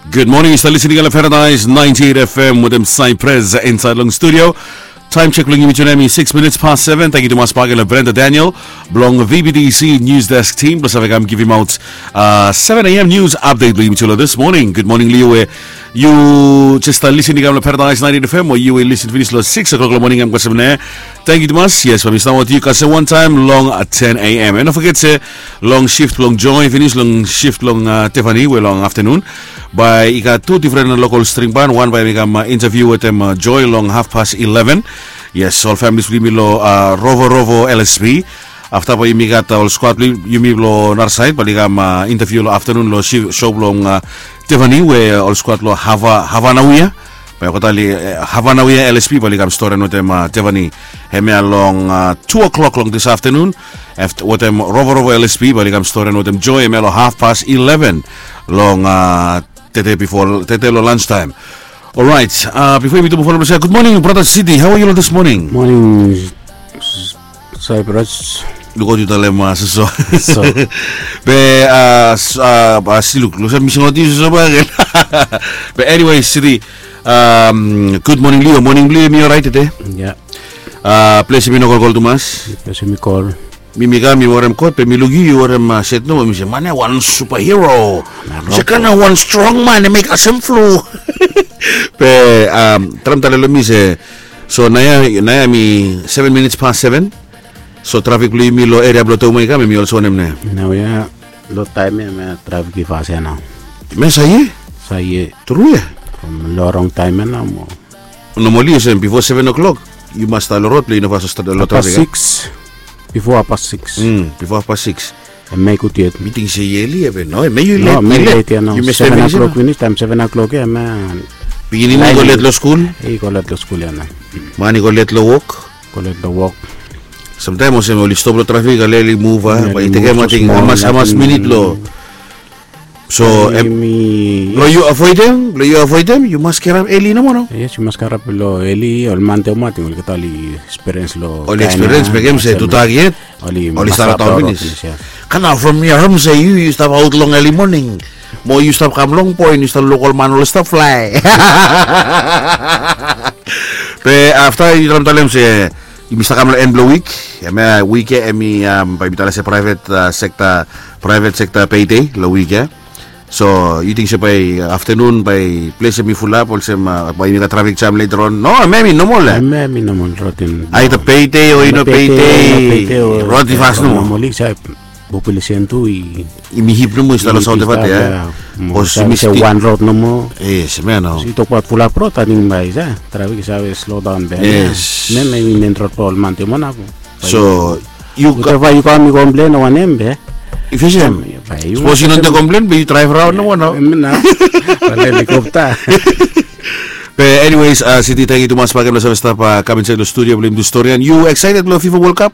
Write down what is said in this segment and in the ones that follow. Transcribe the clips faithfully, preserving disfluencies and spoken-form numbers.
Good morning, yu stap listening long Paradise ninety-eight F M wetem Cypress inside long studio. Time check bilong yumi tude em i six minutes past seven. Thank you tumas bak long Brenda Daniel bilong V B T C News Desk team bilong save kam givim out uh, seven a.m. news update bilong yumi tude this morning. Good morning, Leo. Yu just uh, listening long Paradise ninety-eight F M o yu will listen finish long six o'clock long morning. I'm Kasem ne. Thank you tumas. Yes, mi stap with you kasem one time long uh, ten a.m. And don't forget se long shift long Joy finish long shift long uh, Tiffany we long afternoon. Bai i gat tu different local string band, one bai mi kam uh, interview wetem uh, Joy long half past eleven. Yes, ol families bilong yumi long uh, Rovo Rovo L S P. Afta bai yumi gat uh, ol squad bilong yumi long nara side bai i kam uh, interview long afternoon long shi- show bilong uh, Tiffany we ol squad long Hava Havanawia. Bai kotali uh, Havanawia L S P bai i kam story wetem uh, Tiffany. Hemia long uh, two o'clock long this afternoon. After wetem Rovo Rovo L S P bai i kam story wetem Joy hemia long half past eleven long uh, tete before tete long lunch time. Alright, uh, before yumi tumbu follow say good morning brother City. How are you this morning? Morning, Cyprus. Lukaot yu talem uh, soso. So, be uh, s- uh, uh, si luk, luk sa mi singaot yu soso bak again. But anyway, City, um, good morning Leo. Morning Leo, mi alright today. Yeah. Uh, place mi no kolkol tumas. Place mi kol. Mi mi kam mi warem kot be mi luk yu yu warem uh, set no mi se man ya wan superhero. Mi se kana wan strong man em i kasem flu. Be um, tram tale lo mi se so naya naya mi seven minutes past seven. So trafik bilong yumi long area bilong Tomai kam em i olsem wanem ne? Nau ya, long taim ya em ya trafik i fas ya nau. Mes aye? Saye. Tru ya? From long rong taim ya nau mo. Normally olsem before seven o'clock yu mas stap long rod bilong yu no fas stap long Hapas trafik. Six. Before hapas six. Mm, before hapas six. Em ya i gut yet. Mi ting se yeli ya be no, em ya yu No, let, mi yu let. Let ya nau. Yu mes Seven family o'clock same. Finish, taim seven o'clock ya em ya. Pikinini i go let long skul. I go let long skul ya nau. Man i go let long wok. Go let long wok. Samtaim olsem oli stop long trafik aleli muv a bai i tekem ating hamas hamas minit lo. So em, lo yu avoidem lo yu avoidem yu mas kirap eli nomo no? Yes, yu mas kirap lo eli ol man te mating oli kata oli experience lo oli experience bekem se tutak yet oli start out finis. Kana from your home se yu yu stap out long early morning mo yu stap kam long point yu stap luk ol man oli stap fly. Be afta yu tram talem se yumi stap kam long en bilong wik. Em ya wik ya em i um, bai mi talem se private uh, sector private sector payday long wik ya. So yu ting se bai afternoon bai ples em i fulap olsem uh, bai yumi gat trafik jam later on no em em i normal ya. Em em i normal rotin. Aita payday o i no payday rot i fas nomo. Population tu i yumi hip nomo i stap long saut evat ya. Bos yumi stap wan rot nomo. Yes mea nao. I tokbaut fulap rot ating bai sa trafik i save slow down be. Yes. Mea mea i men rot pa ol man te monako. So yu ka yu kam i komplen wanem be? If you say, suppose you don't complain, but you drive around no one now. Mena. Helikopta. But anyways, uh, City, thank you tumas bagen lo save stap uh, kam inside lo studio blong yumi tu stori and you excited lo FIFA World Cup?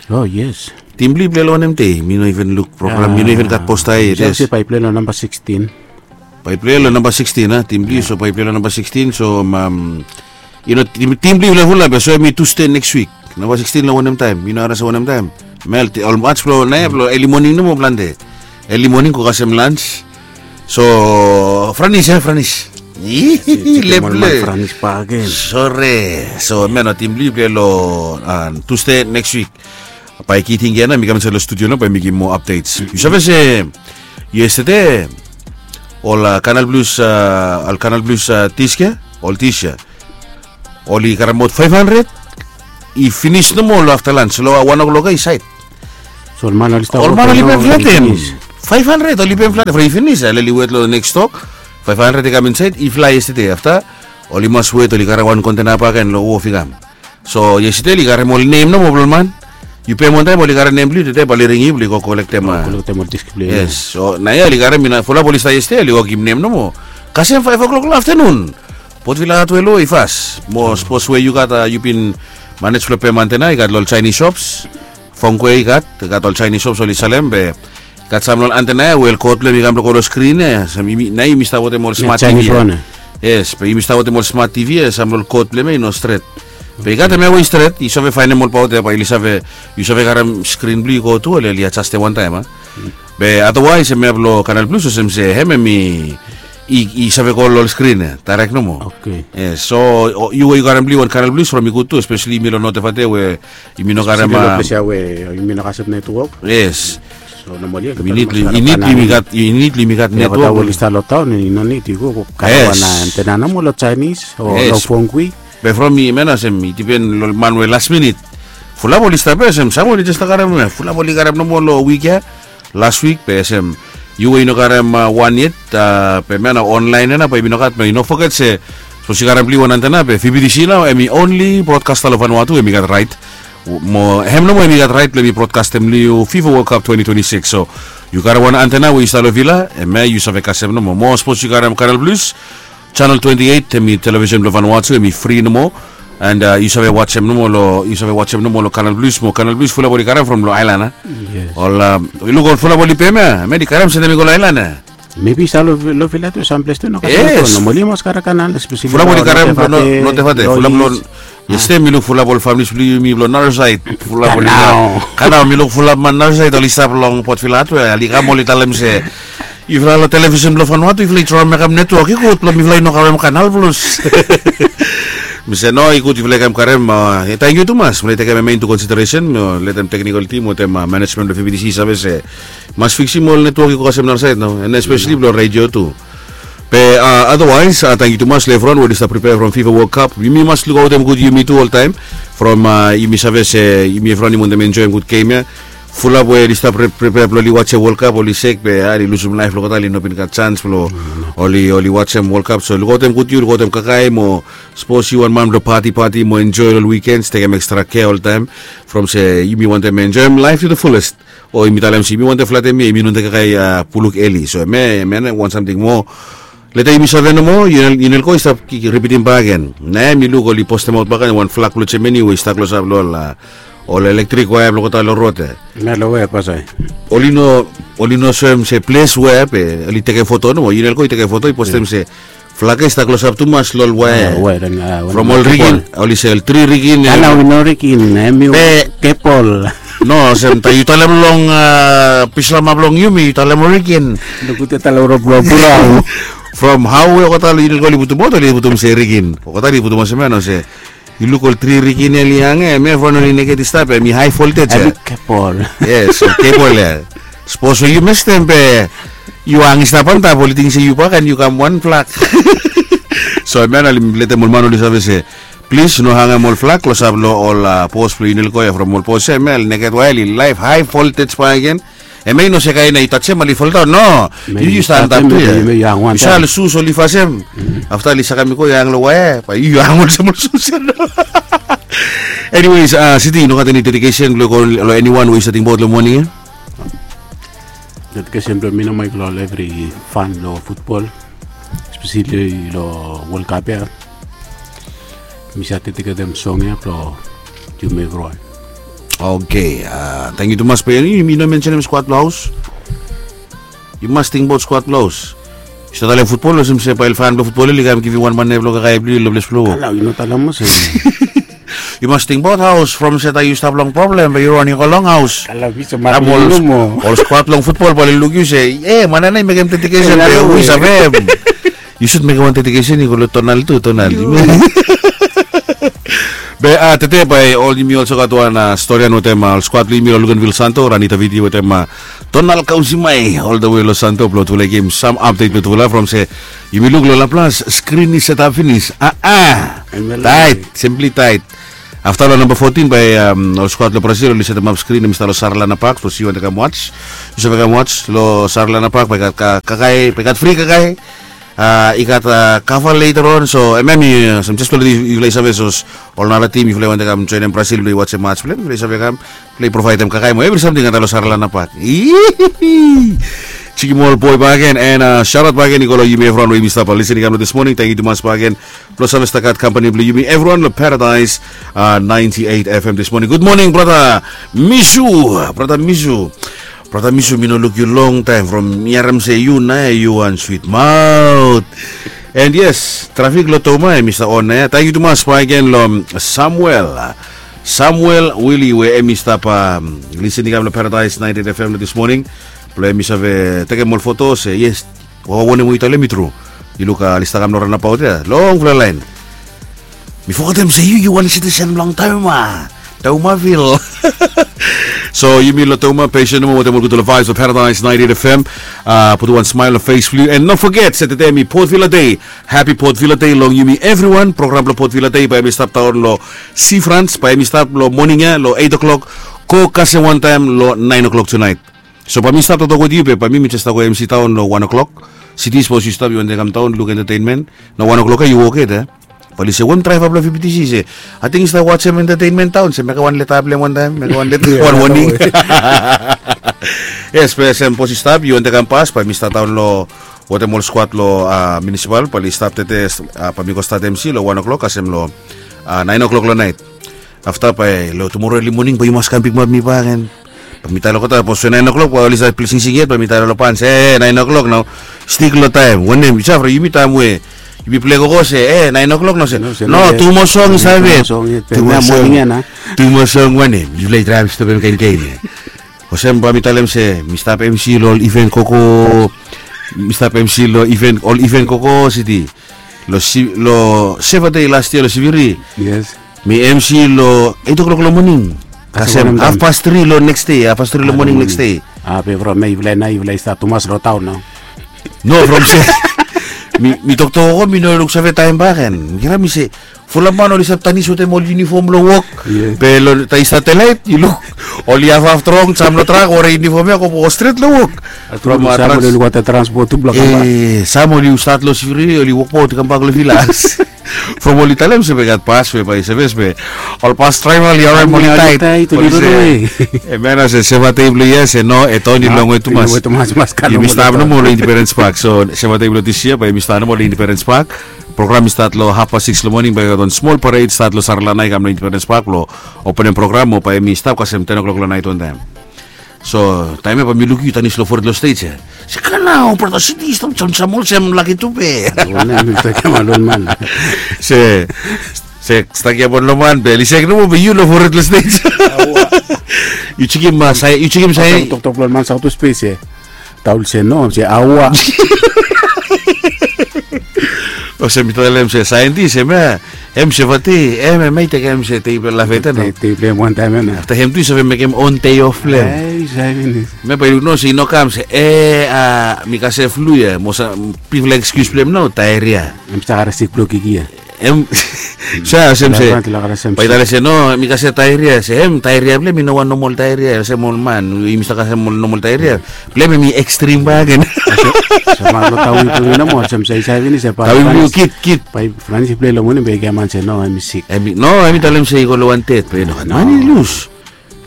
Oh yes. Tim bli play lo wanem te? Mi no even look program, mi no even gat posta yet. Yes. Bai play lo number sixteen. Bai play lo number sixteen, ha? Tim bli so bai play lo number sixteen so um, you know, tim, tim bli lo fula be so em i Tuesday next week. Number sixteen lo wanem time? Mi no aras wanem time. Mel ol match blo nae blo early morning nomo plante. Early morning ko kasem lunch. So Franis ya Franis. Leple. Franis pa again. Sore. So mel no tim bli play lo uh, Tuesday next week. Bai kiting ya na mi kam insait lo studio na bai mi givim moa updates. Yu save se yesterday ol uh, Canal Blues uh, ol Canal Blues uh, tis ya ol tis ya oli karem aut five hundred. I finis nomo lo afta lans lo wan o'clock ya i sait. So ol man oli stap ol man oli pem flatem. Five hundred oli pem flatem from i finis a leli wet lo next tok. Five hundred i kam insait i fly yesterday afta oli mas wet oli karem wan kontena bagen lo wof i kam. So yesterday oli karem ol nem nomo blo ol man. Yu pem wantaim oli karem nem blo yu tede bai oli ring yu blo yu go kolektem. Kolektem ol disk blo yu. Yes. So naia oli karem ina fulap oli stap yesterday oli wokim nem nomo. Kasem five o'clock lo afternoon. Potvila atwelo i fas mo sapos we yu gat yu bin manej blo pem antena i gat lo ol Chinese shops. Fongkwe i gat i gat ol Chinese shops oli salem be gat sam lo ol antena ya we ol kot blo em i kam blo go lo skrin ya. Nai yumi stap wetem ol smart tv ya. Yes be yumi stap wetem ol smart tv ya sam lo ol kot blo em ya i no stret. Be i gat em ya we i stret i save faenem ol paut ya bai oli save yu save karem skrin blo yu go tu oli oli adjastem wantaem a. Be otherwise em ya blo Canal Blues olsem se hem em i i save go long ol skrin ya, direct nomo. Yes, so yu we yu karem blong yu wan Kanal Plus from i gud tu, especially yumi long North Efate we yumi no karem. Ples ya we yumi no kasem netwok. Yes. So normally i nid long yumi gat netwok. Oli stap long taon i no nid i go karem wan antena nomo long Chinese o long Fongui. Be from mi mena olsem i dipen long man we last minute. Fulap oli stap ya olsem sam oli jes stap karem, fulap oli karem nomo long wik ya. Last wik be olsem yu we yu no karem wan yet, be mena online ya nao be yumi no gat, be yu no foget se sapos yu karem blong yu wan antena be V B T C nao hemi only broadcaster long Vanuatu hemi gat rait. Mo hem nomo hemi gat rait blong hemi broadcastem long yu FIFA World Cup twenty twenty-six. So yu karem wan antena we yu stap long villa, hemia yu save kasem nomo. Mo sapos yu karem Kanal Plus, channel twenty-eight, hemi television blong Vanuatu, hemi fri nomo. And yu save wajem nomo long, yu save wajem nomo long Kanal Plus mo Kanal Plus fulap oli karem from long aelan ya. Ol, yu luk ol fulap oli pem ya, hemia oli karem se hemi go long aelan ya. Maybe i stap long villa tu, samples tu no kasem nomo. Oli mas karem Kanal, especially fulap oli karem from North Efate, fulap long Yes, mi luk fulap ol familis blong yumi blong Narrowside. Fulap oli, kanao mi luk fulap man Narrowside oli stap long Port Vila tu ya, oli kam oli talem se yufala long television blong Vanuatu yufala i traem mekem netwok i gud blong mifala i no karem Kanal Plus. Mi se no, i gud yufala i kam karem. Tangkiu tumas, mifala i tekem hemia into consideration mo letem technical team wetem management blong V B T C i save se mas fiksim ol netwok i go kasem Narrowside nao, and especially blong radio tu. Be otherwise, tangkiu tumas long evriwan we oli stap pripea from FIFA World Cup. Yumi mas lukaotem gud yumi tu oltaem. From yumi save se yumi evriwan yumi wantem enjoem gud gem ya. Fulap we oli stap pripea blong oli wajem World Cup oli sek be oli lusum laef long olgeta, oli no bin gat janis blong oli, oli wajem World Cup. So lukaotem gud yu, lukaotem kakae mo sapos yu wan man blong pati pati mo enjoe long weekends, tekem extra care oltaem. From se yumi wantem enjoem laef to the fullest. O yumi talem se yumi wantem flatem ya, yumi no wantem kakae puluk eli. So hemia, hemia wan samting moa. Leta yumi save nomo, Unelco i stap ripitim bakegen. Naoia mi luk oli postemaot bakegen wan flag blong Germany we i stap klosap long ol, ol elektrik waea blong olgeta long rod ya. Hemia long we, pastor? Oli no, oli no soem se ples we, be oli tekem foto nomo, Unelco i tekem foto i postem se flag ya i stap klosap tumas long ol waea. From ol rigin, oli se ol tri rigin ya. Ana wi no rigin, hemi ol kebol. No, olsem taem yu talem long pislama blong yumi yu talem ol rigin. Nogut ya talem ol rod blong purau. From hao we olgeta long Unelco oli putum aot, oli putum se rigin. Olgeta oli putum olsem ya no se yu luk ol tri rigin ya oli hang ya, hemia evriwan oli neked i stap ya, hemi high voltage ya. Hemi kebol. Yes, ol kebol ya. Sapos we yu mestem be yu hang i stap antap, oli ting se yu bakegen yu kam wan flag. So hemia nao oli letem ol man oli save se plis no hangem ol flag klosap long ol pos blong Unelco ya, from ol pos ya hemia oli neked waea, oli laef high voltage bakegen. Hemia i no se kaen ya yu tajem oli foldaon, no. Yu, yu stap antap tu ya. Yu save ol sus oli fasem. Afta oli sakem i go, yu hang long waea, bae yu hang olsem ol sus ya. Anyways, Siti, yu no gat eni dedication blong yu go long eniwan we yu stap tingbaot long moning ya? Dedication blong mi nomo i go long evri fan blong futbol, especially long World Cup ya. Mi save dediketem song ya blong yumi evriwan. Oke, tangkiu tumas. Be yumi no mensenem skuad blong haos. Yu mas tingbaot skuad blong haos. Yu stap talem futbol olsem se bae ol fan blong futbol oli kam givim wan mane blong kakae blong yu long ples blong wok. Nao yu no talem olsem. Yu mas tingbaot haos, from se taem yu stap long problem be yu raning go long haos. Ol skuad long futbol bae oli luk yu se, e, man ya nao i mekem dedikesen be wi savem. Yu sud mekem wan dedikesen i go long Tonal tu, Tonal. Be tede bae ol yumi olsem gat wan storian wetem ol skuad blong yumi long Luganville Santo, Rani Taviti wetem Tonal Kausimai, ol the way long Santo blong tufala givim sam apdet blong tufala from se yumi luk long Laplas, skrin i setap finis. A, a. Taet, simply taet. Afta long namba fotin bae ol skuad long Brazil oli setemap skrin, hemi stap long Sarlana Park, sapos yu wantem kam waj, yu save kam waj long Sarlana Park, bae i gat kakae, bae i gat fri kakae. I gat kava later on, so hemia mi olsem jes blong leti yufala i save sapos ol nara tim yufala i wantem kam joenem Brazil blong i wajem maj blong hem, yufala i save kam, yufala i provaedem kakae mo evri samting antap long Sarlana Park. Jikim ol boe bakegen, and shout out bakegen i go long yumi evriwan we yumi stap lisin i kam long this morning. Tangkiu tumas bakegen blong save stap gat kampani blong yumi evriwan long Paradise ninety eight F M this morning. Good morning, brata Misu. Brata Misu. Brata Misu, mi no luk yu longtaem, from mi harem se yu nao yu wan swit maot. And yes, trafik long Toma hemi stap on nao. Tangkiu tumas bakegen long Samuel. Samuel Willy we hemi stap lisin i kam long Paradise ninety eight F M long this morning. Blong hemi save tekem ol foto se yes, wanem we yu talem i tru. Yu luk, a, oli stap kam long ranabaot ya, longfala laen. Mi fogetem se yu yu wan sitisen blong Tauma, Taumavil. So yumi long Tauma, pesen nomo wetem ol gudfala vibes of Paradise ninety-eight F M. Putum wan smael long fes blong yu, and no foget se tede mi Port Vila Day. Happy Port Vila Day long yumi evriwan. Program blong Port Vila Day bae hemi stap daon long Seafront, bae hemi stap long moning ya long eight o'clock, go kasem wantaem long nine o'clock tunaet. So bae mi stap toktok wetem yu be bae mi mi jes stap go emsi daon long wan o'clock. Siti, sapos yu stap, yu wantem kam daon luk entertainment. Nao wan o'clock ya yu wok yet, e? Bae oli se, we hem draeva blong V B T C? Se, ating yu stap wajem entertainment daon, se mekem wan leta blong hem wantaem, mekem wan leta, wan woning. Yes, be sapos yu stap, yu wantem kam pas, bae mi stap daon long wetem ol skwad long, a, munisipal, bae oli stap tede, a, bae mi go stat emsi long wan o'clock kasem long, a, nine o'clock long naet. Afta bae long tumoro eli moning bae yu mas kam pikimap mi bak, and bae mi talem olgeta, sapos we nine o'clock bae oli save ples singsing yet, bae mi talem long pan se, e, nine o'clock nao. Stik long taem. Wanem, yu save, yumi taem we yumi pilai gogo se, e, nine o'clock nao, se, no, tu moa song i stap yet. Tu moa song, wanem? Yufala i draev stop hem kainkain ya. Olsem bae mi talem se mi stap emsi long ol iven gogo. Mi stap emsi long iven, ol iven gogo, Siti. Long Seva Dei las yia long Siviri. Yes. Mi emsi long eight o'clock long moning kasem hafpas tri long neks dei, hafpas tri long moning neks dei. A, be from ya yufala nao yufala i stap tumas long taon nao. No, from se mi, mi toktok gogo, mi no luksave taem bak, and mi kirap, mi se, fulap man oli stap tanis wetem ol yunifom long wok. Be long taem i stap delaet, yu luk, oli hafhaf trong, sam long trak, werim yunifom ya, go stret long wok. From, a, sam oli luk wantem transpot tu blong kambak. E, sam oli stat long Siviri, oli wokbaot i kambak long vilas. From oli talem se bae i gat bas we bae i sevis be ol bas draeva oli harem, oli taet, oli ranawe. Hemia nao se Seva Dei blong yia, se no, e taon i longwe tumas. Yumi stap nomo long Independence Park. So Seva Dei blong dis yia bae yumi stap nomo long Independence Park. Program i stat long hafpas sikis long moning, bae i gat wan smol pared stat long Saralana i kam long Independence Park blong openem program, mo bae hemi stap kasem ten o'clock long naet wantaem. So taem ya bae mi luk yu tanis long fored long stej ya. Se, kana ol brata Siti i stap jamjam olsem laki tu be. Wanem, mi stap giaman long ol man. Se, se stap giaman long ol man be oli sek nomo be yu long fored long stej. Yu jekem, a, sae, yu jekem sae. Toktok blong ol man saut long spes ya. Taul se no, se aua. Olsem mi talem se saentis, hemia, hem Seva Dei, hem, hem i tekem se dei blong lafeta nao. Dei blong hem wantaem ya nao. Afta hem tu i save mekem on dei of blong hem. Hemia bae yu luk nao se i no kam se, e, a, mi kasem flu ya, mo sa, bifala ekskius blong hem nao, daeria. Hem save karem sik blong kiki ya. Hem, sa, olsem se bae i talem se no, mi kasem daeria, se hem daeria blong hem i no wan nomol daeria olsem ol man, yumi stap kasem ol nomol daeria. Blong hem hemi ekstrim bakegen. Olsem, olsem man long taon blong yumi nomo, olsem se i save finis se bae, taon blong yu kid, kid. Bae Franis i pilai long moning be i giaman se no, hemi sik. Hemi, no, hemi talem se i go long wan ded be no, man i lus.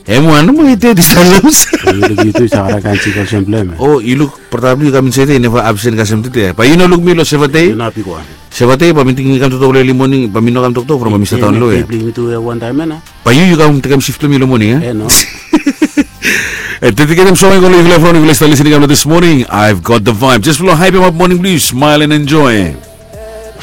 Hem wan nomo i ded i stap lus. Yu luk, yu tu i save karem kaen sik olsem blong hem. O, yu luk, brata blong yu i kam insaed ya, i neva absen kasem tede. Bae yu no luk mi long Seva Dei. Yu no bigwan. Seva Dei bae mi ting i kam toktok long eli moning, bae mi no kam toktok from bae mi stap daon lo ya. Dei blong yumi tu ya wantaem ya nao. Bae yu, yu kam tekem sif blong mi long moning, e? E, no. E, dediketem song ya i go long yufala evriwan, yufala i stap lisin i kam long this morning. I've got the vibe. Jes blong haepemap moning blong yu, smile and enjoy.